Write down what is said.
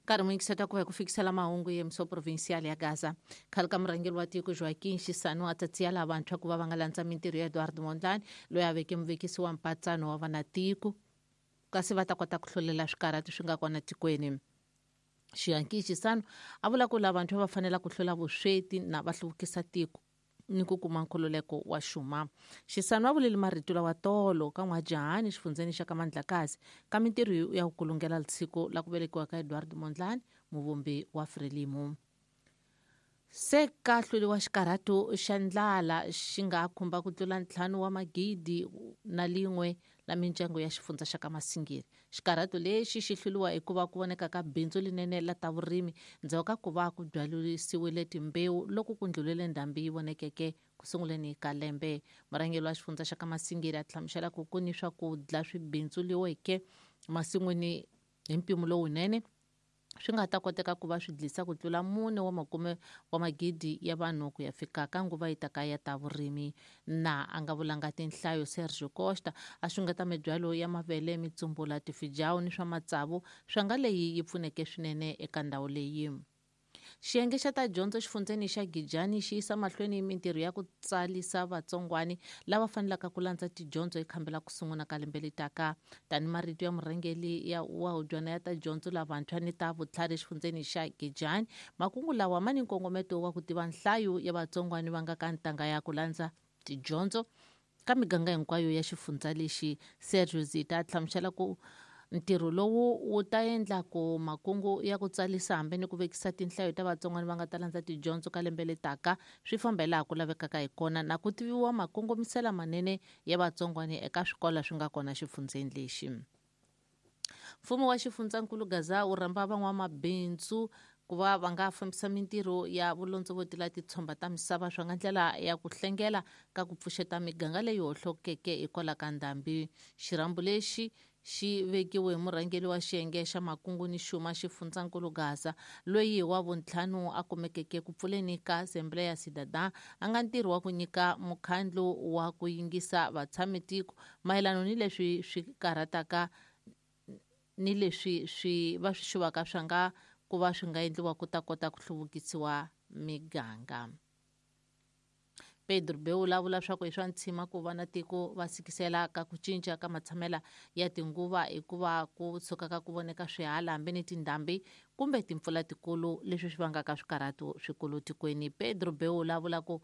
Nkarhi muyingiseta ku va hi ku fikisela mahungu yemiso provincial ya Gaza. Khale ka murhangeri wa tiko Joaquim Chissano a tsatsiyela vantshwa ku va va nga landza mintirho ya Eduardo Mondlane, loyi a veke muvekisi wa mpatsano wa vanatiko, kasi va ta kota ku hlulela swikarhati swi nga kona tikweni. Joaquim Chissano a vula ku lavantshwa va fanela ku hlula vusweti na va hluvukisa tiko ni ku kuma nkhululeko wa xuma. Xisano a vulele marito lawa tolo ka N'wajahani xifundzeni xa ka Mandlakazi ka mintirho ya ku kulungela siku la ku velekiwa ka Eduardo Mondlane, muvumbi wa Frelimo. Se ka hluriwa xikarhato xa ndlala xi nga khumba ku tlula 5 wa magidi na lin'we la mindyangu ya xifundza xa ka Masingiri. Xikarhato lexi xi hluriwa hikuva ku voneka ka bindzu linene la ta vurimi ndzhaku ka ku va ku byalisiwile timbewu loko ku ndlulele ndhambi yi vonekeke ku sunguleni ka lembe. Murhangeri wa xifundza xa ka Masingiri a hlamusela ku ku ni swakudya swi bindzuliweke masin'wini hi mpimo lowunene swi nga ta koteka ku va swi dlisa ku tlula 4 wa makume wa magidi ya vanhu ku ya fika ka nguva yi taka ya ta vurimi. Na a nga vulanga tinhlayo Sergio Costa a xungeta mibyalo ya mavele, mitsumbula, tifijawu ni swa matsavu swa nga leyi yi pfuneke swinene eka ndhawu leyi. Xiyenge xa ta dyondzo xifundzeni xa Gijani xi yisa mahlweni mintirho ya ku tsalisa vatsongwani lava fanelaka ku landza tidyondzo ekhambela ku sungula ka lembe letaka. Tani marito ya murhangeri ya wa hubyana ya ta dyondzo lavantshwa ni ta vutlhari xifundzeni xa Gijani, makungu lawa ma ni nkongometo wa ku tiva nhlayo ya vatsongwani va nga ka ntanga ya ku landza tidyondzo ka miganga hinkwayo ya xifundza lexi. Sergio Zita a hlamusela ku ntirho lowu wu ta endla ku makungu ya ku tsalisa hambi ni ku vekisa tinhlayo ta vatsongwana va nga ta landza tidyondzo ka lembe letaka swi famba hi laha ku lavekaka hi kona na ku tiviwa makongomisela manene ya vatsongwana eka swikolo swi nga kona xifundzeni lexi. Mfumo wa xifundzankulu Gaza wu rhamba van'wamabindzu ku va va nga fambisa mintirho ya vulondzovoti la titshomba ta misava swa nga ndlela ya ku hlengela ka ku pfuxeta miganga leyi hohlokeke hikwalaho ka ndhambi. Xirhambo lexi xi vekiwe hi murhangeri wa xiyenge xa makungu ni xuma xifundzankulu Gaza, loyi wa vuntlhanu a kumekeke ku pfuleni ka Assembleia Cidadã, a nga ntirho wa ku nyika mukhandlu wa ku yingisa vatshamitiko mayelana ni leswi swi karhataka ni leswi swi va swi xuvaka swa nga ku va swi nga endliwa ku ta kota ku hluvukisiwa miganga. Pedro Beula vula swa ku i swa ntshima ku va na tiko va sikisela ka ku cinca ka matshamela ya tinguva hikuva ku tshuka ka ku voneka swihala hambi ni tindhambi kumbe timpfula tikulu leswi swi vangaka swikarhato swikulu tikweni. Pedro Beula vula ku